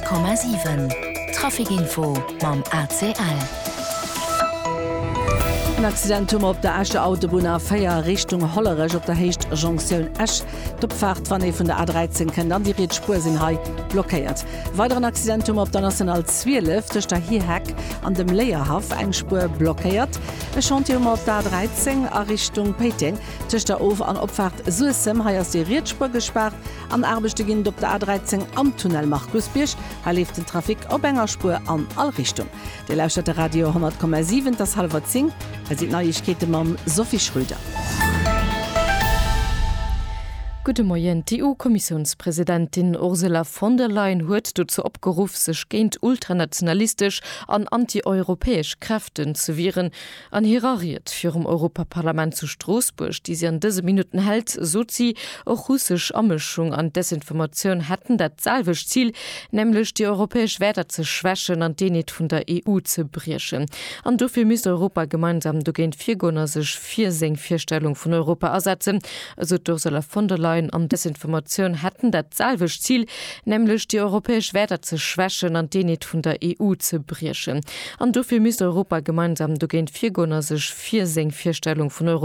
100,7 Trafic Info mam ACL. En Accident hu mer op der Escher Autobunn A4 Richtung Hollerech op der Héicht Jonktioun Esch. D'Opfaart wann ee vun der A13 kënnt an déi riets Spuer sinn hei blockéiert. E weideren Accident hu mer op der National 12 tëscht der Hierheck an dem Léierhaff, eng Spuer blockéiert. E Chantier hu mer op der A13 a Richtung Péiteng tëscht der Of an Opfaart Suessem, hei ass déi riets Spuer gespaart. An Aarbechte ginn et op der A13 am Tunnel Markusbierg, hei leeft den Trafic op enger Spuer an all Richtung. Dir lauschtert de Radio 100,7, et ass hallwer 10, hei sinn d'Neiegkeete mam Sophie Schröder. Gudde Moien. D'EU-Kommissiounspresidentin Ursula von der Leyen huet dozou opgeruff, sech géint ultranationalistesch an anti-europäesch Kräften ze wieren. An hirer Ried virum Europaparlament zu Stroossbuerg, déi si an dëse Minutten hält, sot si, och russesch Amëschung an Desinformatioun hätten dat selwecht Zil, nämlech déi europäesch Wäerter ze schwächen an d'Eenheet vun der EU ze briechen. An dofir misst Europa gemeinsam dogéint virgoen a sech fir seng Virstellung vun Europa asetzen, esou d'Ursula von der Leyen. An Desinformatioun hätten dat selwecht Zil, nämlech déi europäesch Wäerter ze schwächen an d'Eenheet vun der EU ze briechen. An dofir misst Europa gemeinsam dogéint virgoen a sech fir seng Virstellung vun Europa.